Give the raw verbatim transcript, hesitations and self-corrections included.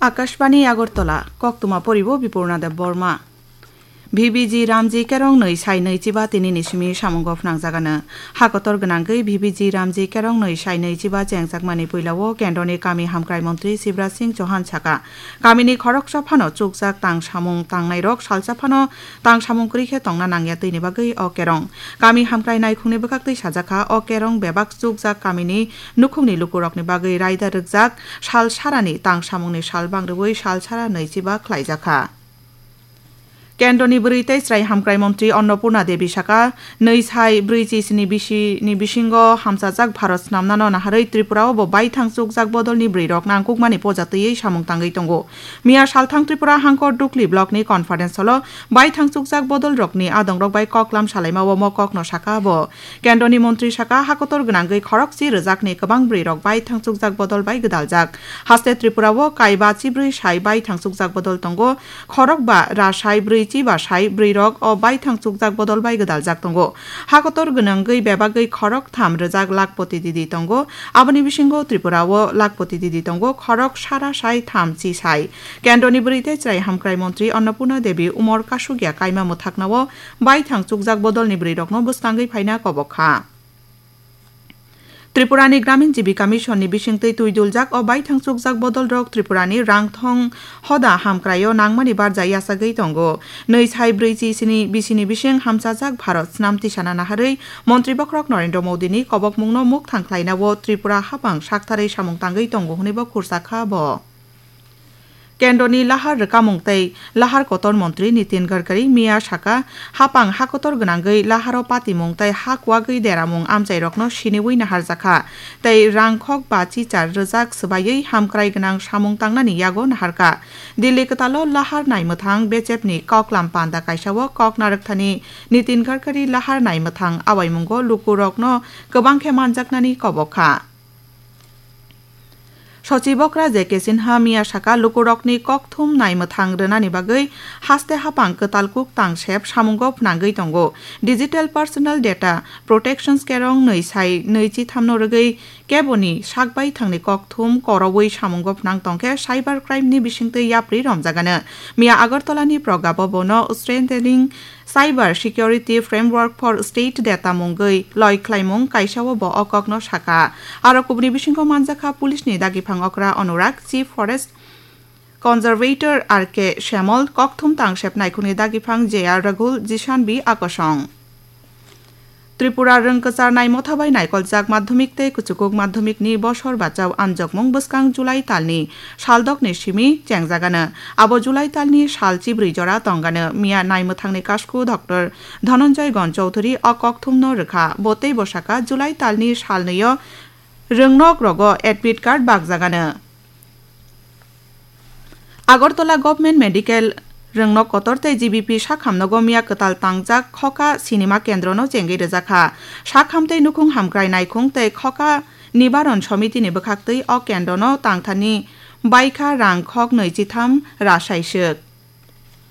Akashbani Agartala, koktwma poribo Bipurna Deb Borma. V B G Ramji Kerong nwi sai nwi chiba tini ni simi samungo phnangjagano. Hakotor gwnangwi V B G Ramji Kerong nwi sai nwi chiba chengjakmani puilao kendroni kami hamkrai montri Shivraj Singh Chauhan saka, kamini khoroksa phano chukjak tang samung tangnairok salsa phano tang samung kwrwi khe tongna nangya twini bagwi o kerong. Kami hamkrai naikhungni bwkhaktwi sajakha, o kerong bebak chukjak kamini nukhungni lukurokni bagwi raida rwkjak, sal sarani tang samungni sal bangrwui sal sara nwi chiba khlaijakha. Kendroni bwrwi tei chwrai hamkrai montri Annapurna Devi saka, nwi sai brwi chi sini bisi ni bisingo hamchajak Bharat snamnano naharwi Tripura o bo baithang chukjak bodolni bwrwirok nangkukmani poja twiwi samung tangwi tongo. Miya salthang Tripura hangkor Dukli block ni conference hall o baithang chukjak bodolrokni adongrok bai koklam salaima o mo kokno saka bo. Kendroni montri saka, hakotor gwnangwi khorokchi rwjakni kwbang bwrwirok baithang chukjak bodol bai gwdaljak. Haste Tripura o kaiba chibrwi sai baithang chukjak bodol tongo, khorokba ra sai brwi chiba sai bwrwirok o baithang chukjak bodol bai gwdaljak tongo. Hakotor gwnangwi bebagwi khorok tham rwjak lakhpoti didi tongo, aboni bisingo Tripura o lakhpoti didi tongo, khorok sara sai tham chi sai. Kendroni bwrwi tei chwrai hamkrai montri Annapurna Devi umor kasugya kaima mwthaknao baithang chukjak bodolni bwrwirokno bwskangwi phaina kobok kha. Tripurani Gramin Jibika Mission ni bisingtwi twi duljak o baithang chukjak bodolrok Tripurani rangthong hoda hamkraio nangmani barja yachagwi tongo. Nwi sai brwi chi sini bisini bising hamchajak Bharat snam tisana naharwi Montri Bokhorok Narendra Modi ni kobokmungno mukthang khlainao Tripura hapang saktharwi samung tangwi tongo hwnwibo khursa kha bo. Kendroni lahar rwkamung tei lahar kotor montri Nitin Gadkari miya saka, hapang hakotor gwnangwi laharo patimung tei ha kuwagwi deramung amchairokno siniwi naharjakha tei rangkhok bachi char rwjak swbaiwi hamkrai gwnang samung tangnani yago naharkha. Delhi kwtalo lahar naimwthang bechepni koklam panda kaisao kok narwkthani Nitin Gadkari lahar naimwthang awaimungo lukurokno kwbang khe manjaknani kobok kha. Sochibokra J K Sinha miya saka, lukurokni kokthum naimwthang rwnani bagwi haste hapang kwtal kuk tangsep samungo phnangwi tongo. Digital Personal Data Protection Kerong nwi sai nwi chithamno rwgwi keboni sakbai thangni kokthum koroui samungo phnang tongkhe cyber crime ni bisingtwi yapri romjagano. Miya Agartala ni Pragya Bhavan o Strengthening Cyber Security Framework for State Data mungwi loi khlaimung kaisao bo o kokno saka. Aro kubuni bisingo manjakha police ni dagiphang okra Anurag, Chief Forest Conservator R K Shyamol, kokthum tangsep naikhungni dagiphang J R Raghul, Jishan B Akosong. Tripura rwngkwchar naimotha bai naikoljak madhyamik tei kuchukuk madhyamik ni bosor bachao anjokmung bwskang July talni saldokni simi chengjagano. Abo July talni sal chibrwi jora tongano. Miya naimwthangni kasku Doctor Dhananjay Gon Chowdhury o kokthumno rwkha. Bo tei bwsaka July talni sal nwio rwngnok rogo admit card bakjagano. Agartala Government Medical rwngnok kotor tei G B P sakhamno gomya kwtal tangjak Khoka Sinima Kendrono chengwi rwjakha. Sakham tei nukhung hamkrai naikhung tei Khoka Nibaron Somitini bwkhaktwi o kendrono tangthani baikha rang khok nwi chitham ra saiswk.